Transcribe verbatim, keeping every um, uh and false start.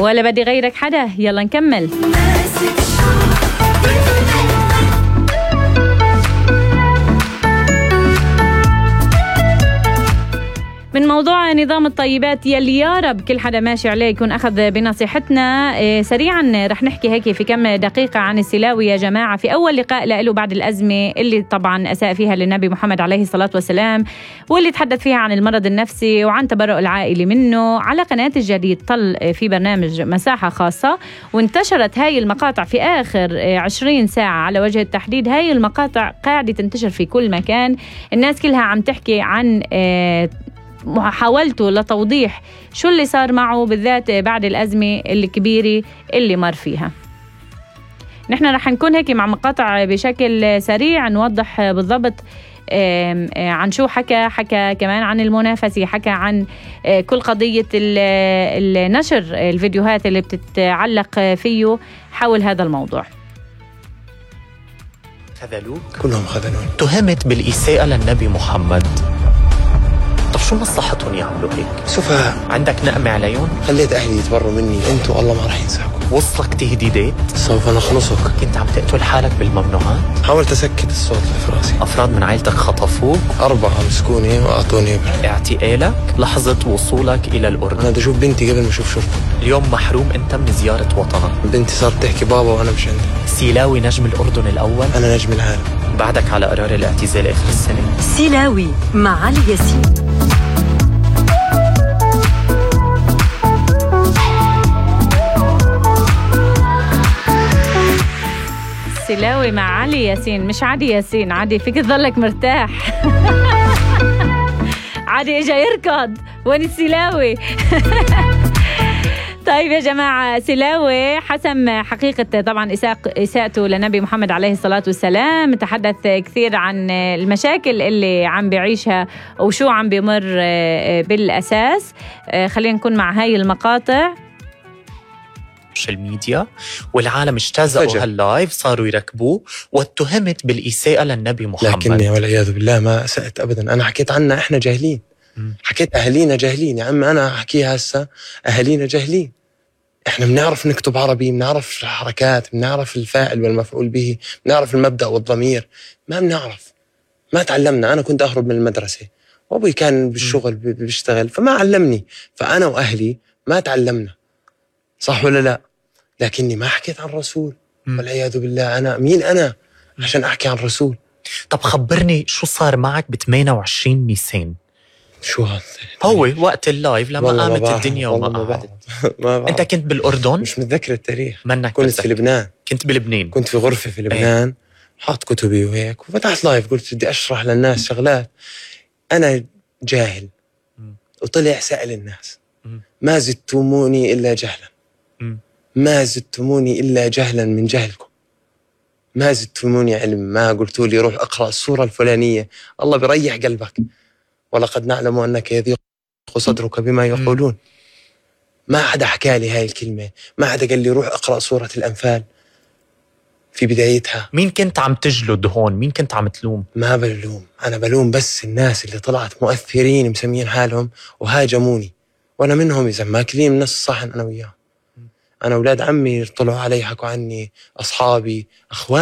ولا بدي غيرك حدا. يلا نكمل. من موضوع نظام الطيبات يلي يا رب كل حدا ماشي عليه يكون أخذ بنصيحتنا. إيه سريعا رح نحكي هيك في كم دقيقة عن السلاوي يا جماعة. في أول لقاء له بعد الأزمة اللي طبعا أساء فيها للنبي محمد عليه الصلاة والسلام، واللي تحدث فيها عن المرض النفسي وعن تبرؤ العائلة منه، على قناة الجديد طل في برنامج مساحة خاصة، وانتشرت هاي المقاطع في آخر عشرين ساعة على وجه التحديد. هاي المقاطع قاعدة تنتشر في كل مكان، الناس كلها عم تحكي عن إيه محاولته لتوضيح شو اللي صار معه بالذات بعد الأزمة الكبيرة اللي مر فيها. نحن رح نكون هيك مع مقاطع بشكل سريع نوضح بالضبط عن شو حكى. حكى كمان عن المنافسة، حكى عن كل قضية النشر الفيديوهات اللي بتتعلق فيه حول هذا الموضوع. خذلوك؟ كلهم خذلون. تهمت بالإساءة للنبي محمد. طب شو مصلحتهم يعملوا هيك؟ سفهاء. عندك نقمة عليهم؟ خليت أهلي يتبروا مني، أنتوا الله ما رح ينساكم. وصلك تهديدات؟ سوف نخلصك. كنت عم تقتل حالك بالممنوعات؟ حاولت أسكت الصوت اللي في راسي. أفراد من عائلتك خطفوك؟ أربعة مسكوني وأعطوني إبرة. اعتقالك لحظة وصولك إلى الأردن. أنا بدي أشوف بنتي قبل ما أشوف شرطة. اليوم محروم أنت من زيارة وطنك. بنتي صارت تحكي بابا وأنا مش عندي. سلاوي نجم الأردن الأول؟ أنا نجم العالم. بعدك على قرار الاعتزال آخر السنة. سلاوي مع علي ياسين. سلاوي مع علي ياسين، مش عادي ياسين. عادي فيك تظلك مرتاح. عادي اجا يركض. وين السلاوي؟ طيب يا جماعة، سلاوي حسم حقيقة طبعا إساءته لنبي محمد عليه الصلاة والسلام. تحدث كثير عن المشاكل اللي عم بيعيشها وشو عم بيمر بالأساس. خلينا نكون مع هاي المقاطع. السوشيال ميديا والعالم اجتازوا هاللايف، صاروا يركبوه واتهمت بالإساءة للنبي محمد. لكني والعياذ بالله ما أسأت أبدا. أنا حكيت عنها إحنا جاهلين. م. حكيت أهلينا جاهلين. يا عم أنا أحكيها هسه، أهلينا جاهلين. إحنا بنعرف نكتب عربي، بنعرف الحركات، بنعرف الفاعل والمفعول به، بنعرف المبدأ والضمير. ما بنعرف، ما تعلمنا. أنا كنت أهرب من المدرسة وأبوي كان بالشغل بيشتغل فما علمني، فأنا وأهلي ما تعلمنا. صح ولا لا؟ لكني ما حكيت عن الرسول. والعياذ بالله. أنا مين أنا عشان أحكي عن الرسول؟ طب خبرني شو صار معك ب ثمانية وعشرين نيسان؟ شو هذا؟ هو وقت اللايف لما قامت الدنيا وما قعدت. أنت كنت بالأردن؟ مش متذكر التاريخ. منك كنت متذكر. في لبنان. كنت بلبنان. كنت في غرفة في لبنان. ايه؟ حاط كتبي وهيك وفتحت لايف، قلت بدي أشرح للناس شغلات. أنا جاهل. م. وطلع سأل الناس. م. ما زدتموني إلا جهلا. م. ما زدتموني إلا جهلا من جهلكم. ما زدتموني علم. ما قلتوا لي روح أقرأ السورة الفلانية. الله بيريح قلبك. ولقد نعلم أنك يضيق صدرك بما يقولون. ما حدا حكى لي هاي الكلمة. ما حدا قال لي روح أقرأ سورة الأنفال في بدايتها. مين كنت عم تجلد هون؟ مين كنت عم تلوم؟ ما بلوم. أنا بلوم بس الناس اللي طلعت مؤثرين مسمين حالهم وهاجموني، وأنا منهم. إذا ماكلين من نفس الصحن أنا وياهم. أنا أولاد عمي طلعوا علي حكوا عني، أصحابي، أخواني.